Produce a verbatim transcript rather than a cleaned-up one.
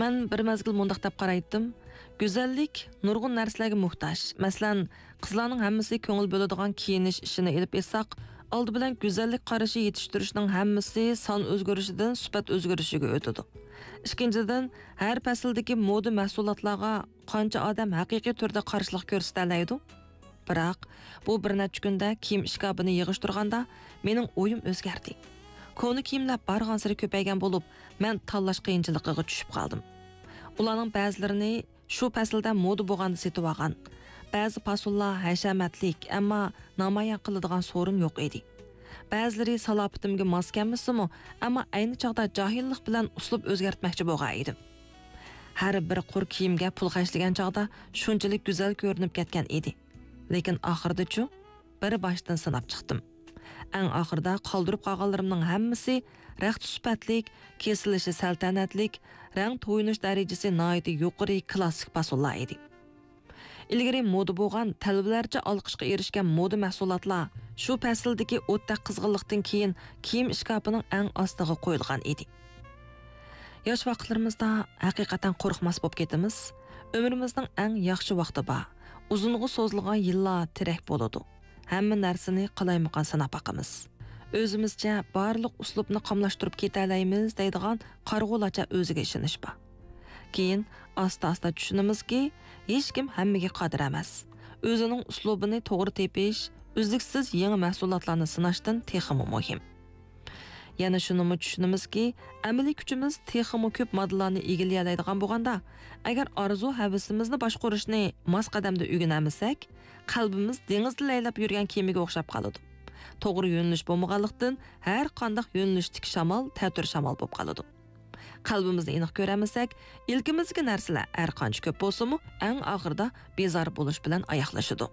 مەن بىر مەزگىل مۇنداق دەپ قارايتتىم، گۈزەللىك نۇرغۇن نەرسىلەرگە موھتاج. مەسىلەن، قىزلارنىڭ ھەممىسى كۆڭۈل بۆلىدىغان كىيىنىش ئىشىنى ئېلىپ ئېيتساق، ئالدى بىلەن گۈزەللىك قارىشى يېتىشتۈرۈشنىڭ ھەممىسى سان ئۆزگىرىشىدىن سۈپەت ئۆزگىرىشىگە ئۆتىدۇ. ئىككىنچىدىن، ھەر پەسىلدىكى مودا مەھسۇلاتلارغا قانچە ئادەم ھەقىقىي تۈردە قارشىلىق كۆرسىتەلەيدۇ؟ بىراق، بۇ بىر نەچچە كۈندە كىيىم ئىشكاپىنى يىغىشتۇرغاندا، مېنىڭ ئويۇم ئۆزگەردى. كونا كىيىملەر بارغانسېرى كۆپەيگەن بولۇپ، مەن تاللاش قىيىنچىلىقىغا چۈشۈپ قالدىم. ئۇلارنىڭ بەزىلىرىنى شۇ پەسىلدە مودا بولغاندا سېتىۋالغان. بەزى پاسونلار ھەشەمەتلىك، ئەمما نامايان قىلىدىغان سورۇن يوق ئىدى. بەزىلىرى سالاپىتىمگە ماس كەلمىسىمۇ، ئەمما ئەينى چاغدا جاھىللىق بىلەن ئۇسلۇب ئۆزگەرتمەكچى بولغان ئىدىم. ھەر بىر قۇر كىيىمگە پۇل خەجلىگەن چاغدا شۇنچىلىك گۈزەل كۆرۈنۈپ كەتكەن ئىدى. لېكىن ئاخىرىدىچۇ؟ بىر باشتىن سىناپ چىقتىم. ئەڭ ئاخىرىدا قالدۇرۇپ قالغانلىرىمنىڭ ھەممىسى رەختە سۈپەتلىك، كېسىلىشى سەلتەنەتلىك، رەڭ تويۇنۇش دەرىجىسى ناھايىتى يۇقىرى كلاسسىك پاسونلار ئىدى. ئىلگىرى مودا بولغان، تەلۋىلەرچە ئالقىشقا ئېرىشكەن مودا مەھسۇلاتلار شۇ پەسىلدىكى ئوتتەك قىزغىنلىقتىن كېيىن كىيىم ئىشكاپىنىڭ ئەڭ ئاستىغا قويۇلغان ئىدى. ياش ۋاقىتلىرىمىزدا ھەقىقەتەن قورقماس بولۇپ كېتىمىز. ئۆمرىمىزنىڭ ئەڭ ياخشى ۋاقتى بار. ئۇزۇنغا سوزۇلغان يىللار تىرەك بولىدۇ. ھەممە نەرسىنى قالايمىقان سىناپ باقىمىز. ئۆزىمىزچە بارلىق ئۇسلۇبنى قاملاشتۇرۇپ كېتەلەيمىز دەيدىغان قارىغۇلارچە ئۆزىگە ئىشىنىش بار. كېيىن ئاستا-ئاستا چۈشىنىمىزكى، ھېچكىم ھەممىگە قادىر ئەمەس. ئۆزىنىڭ ئۇسلۇبىنى توغرا تېپىش، ئۈزلۈكسىز يېڭى مەھسۇلاتلارنى سىناشتىن تېخىمۇ مۇھىم. يەنە شۇنىمۇ چۈشىنىمىزكى، ئەمەلىي كۈچىمىز تېخىمۇ كۆپ ماددىلارنى ئىگىلىيەلەيدىغان بولغاندا، ئەگەر ئارزۇ-ھەۋىسىمىزنى باشقۇرۇشنى ماس قەدەمدە ئۆگىنەلمىسەك، قەلبىمىز دېڭىزدا لەيلەپ يۈرگەن كېمىگە ئوخشاپ قالىدۇ. توغرا يۆنىلىش بولمىغانلىقتىن، ھەر قانداق يۆنىلىشتىكى شامال تەتۈر شامال بولۇپ قالىدۇ. قەلبىمىزنى ئېنىق كۆرەلمىسەك، ئىلكىمىزدىكى نەرسىلەر ھەر قانچە كۆپ بولسىمۇ، ئەڭ ئاخىرىدا بىزار بولۇش بىلەن ئاياغلىشىدۇ.